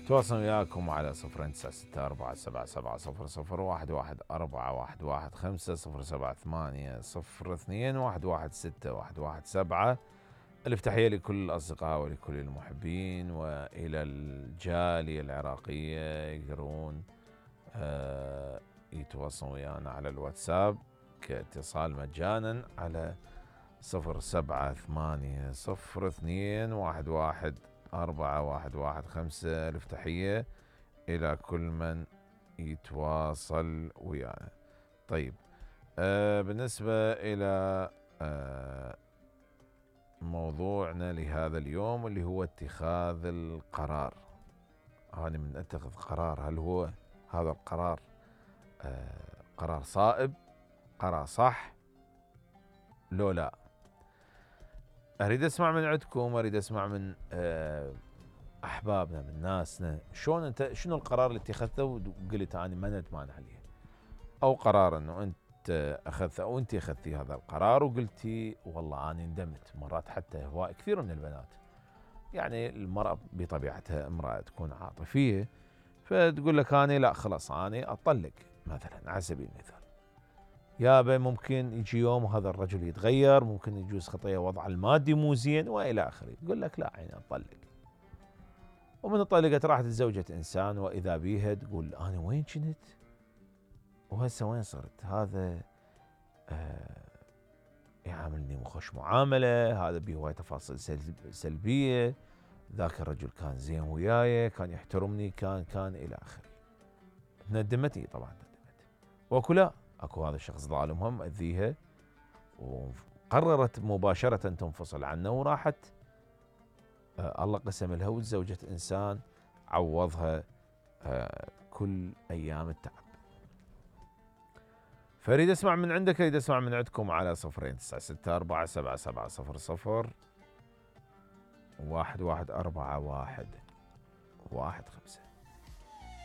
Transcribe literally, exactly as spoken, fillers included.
تواصل وياكم على صفرين تسعة ستة أربعة سبعة سبعة صفر صفر واحد واحد أربعة واحد واحد خمسة صفر سبعة ثمانية صفر اثنين واحد واحد ستة واحد واحد سبعة. ألف تحية لكل الأصدقاء ولكل المحبين وإلى الجالية العراقية يقدرون آه يتواصلون ويانا على الواتساب كاتصال مجانا على صفر سبعة ثمانية صفر اثنين واحد واحد أربعة واحد واحد خمسة. ألف تحية إلى كل من يتواصل ويانا. طيب آه بالنسبة إلى آه موضوعنا لهذا اليوم اللي هو اتخاذ القرار. أنا من أتخذ قرار، هل هو هذا القرار آه قرار صائب، قرار صح لو لا؟ أريد أسمع من عندكم، أريد أسمع من آه أحبابنا من ناسنا، شلون أنت شنو القرار اللي اتخذته وقلت أنا ما ندمان عليه، أو قرار أنه أنت أخذته أو أنت أخذتي هذا القرار وقلتي والله أنا ندمت. مرات حتى هواء كثير من البنات، يعني المرأة بطبيعتها امرأة تكون عاطفية، فتقول لك أنا لا خلاص أنا أطلق مثلا على سبيل المثال. يابا ممكن يجي يوم وهذا الرجل يتغير، ممكن يجوز خطية وضع المادي مو زين والى اخره، تقول لك لا عيني اطلق. ومن طلقت راحت تزوجت انسان واذا بيها تقول انا وين كنت؟ وهسه وين صرت؟ هذا آه يعاملني مخش معاملة، هذا بيه هواي تفاصيل سلبية، ذاك الرجل كان زين وياي، كان يحترمني، كان كان الى اخره. ندمتني طبعا ندمت. واكو لا اكو هذا الشخص ظالمهم مأذيها وقررت مباشرة تنفصل عنه وراحت آه الله قسم لها وتزوجت انسان عوضها آه كل ايام التعب. فاريد اسمع من عندك، اريد اسمع من عندكم على صفرين تسعة ستة أربعة سبعة سبعة صفر صفر واحد واحد أربعة واحد واحد خمسة.